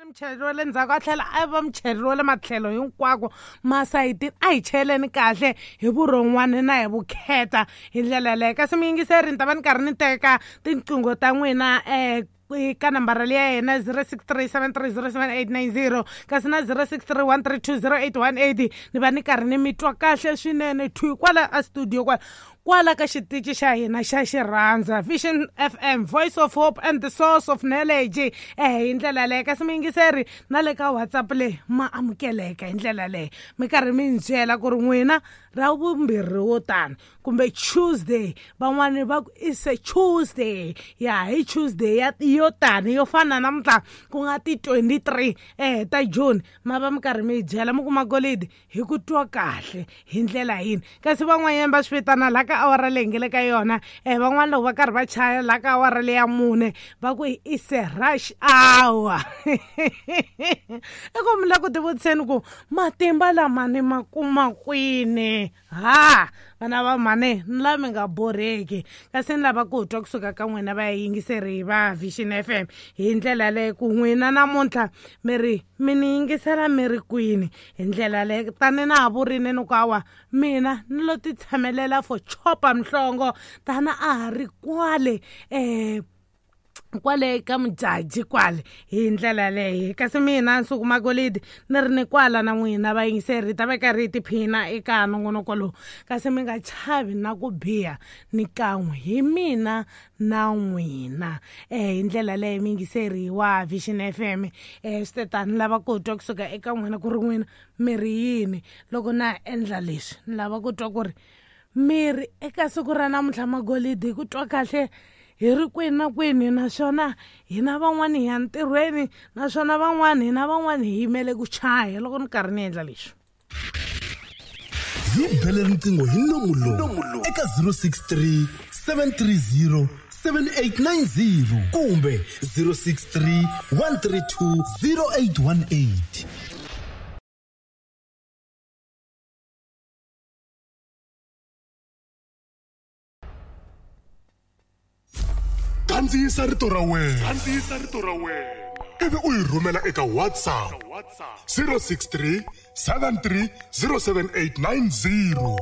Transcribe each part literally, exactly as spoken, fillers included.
Muchayeri wa le ndzhaku a tlhela a va muchayeri wa le matlhelo hinkwako masayitini a hi cheleni kahle hi vurhon'wana na hi vukheta hi ndlela yaleyo. Kasi muyingiseri ni ta va ni karhi ni teka tinqingho ta n'wina um ka nambara leya yena zero six three seven three zero seven eight nine zero kasi na zero six three one three two zero eight one eight. Ni va ni karhi ni mi twa kahle swinene thwi kwala a studio kwala kwala ka xitichi xa hina xa xirhandza Vision F M, Voice of Hope and the Source of Knowledge. Eh hi ndlela leyo. Kasi muyingiseri na le ka WhatsApp leyi ma amukeleka hi ndlela leyo, mi karhi mi ni byela ku ri n'wina ra vumbirhi wo tani kumbe Tuesday, van'wani va ku is a Tuesday ya hi Tuesday ya yo tani yo fana namuntlha ku nga ti twenty-three eh ta June, ma va mi karhi mi byela mi kuma golidi hi ku twa kahle hi ndlela yini. Kasi van'wanyana va swi vitana la ka awara leyi nge le ka yona eh van'wana loko va karhi va chaya la ka awara leya mune va ku is a rush hour. I ku mi la ku tivutiseni ku matimba lama ni ma kuma kwini? Ha vana va mhani ni la mi nga borheki, kasi ni lava ku twa kusuka ka n'wina va yingiseri va Vision F M hi ndlela leyi ku n'wina namuntlha mi ri mi ni yingisela mi ri kwini hi ndlela leyi. Tani na ha vurini ni ku awa mina ni lo ti tshamelela for chopa mhlongo tana a ha ri kwale um kwale ka mujaji kwale hi ndlela leyi. Kasi mina Nsuku Magolidi ni ri ni kwala na n'wina vayingiseri ta va karhi hi tiphina eka nongonoko lowu, kasi mi nga chavi na ku biha ni kan'we hi mina na n'wina eh hi ndlela leyi muyingiseri wa Vision F M. Eh swi tani lava ku twa kusuka eka n'wina ku ri n'wina mi ri yini loko na endla leswi, ni lava ku twa ku ri mi ri eka siku ra namuntlha Magolidi hi ku twa kahle hi ri kwini na kwini, naswona hina van'wani hi ya ntirhweni, naswona van'wani hina van'wani hi yimele ku chaya loko ni karhi ni endla leswi. Hi bele riqingho hi nomu lowu eka zero six three seven three zero seven eight nine zero kumbe zero six three one three two zero eight one eight. Kandziyisa rito ra wena, kandziyisa rito ra wena ivi u yi rhumela eka WhatsApp zero six three seven three zero seven eight nine zero.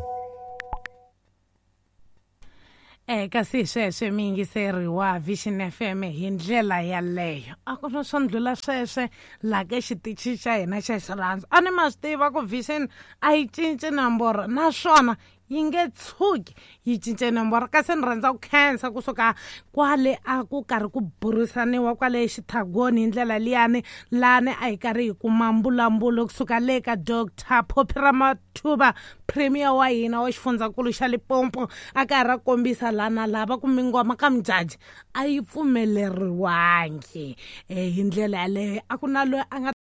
Eh kasi sweswe muyingiseri wa Vision F M hi ndlela yaleyo a ku na swo ndlula sweswe la ka xitichi xa hina xa xirhandzu. A ni ma swi tiva ku Vision a yi cinci nomboro naswona yi nge tshuki yi cince nomboro. Kasi ni rhandza ku khensa kusuka kwale a ku karhi ku burisaniwa kwale xithagoni hi ndlela liyani lani a hi karhi hi kuma mbulambulo kusuka le ka Doctor Phophi Ramathuba, premier wa hina wa xifundzankulu xa Limpopo, a karhi a kombisa lana lava ku mingoma ka mujaji a yi pfumeleriwangi. Eh hi ndlela yaleyo a ku na loyi a nga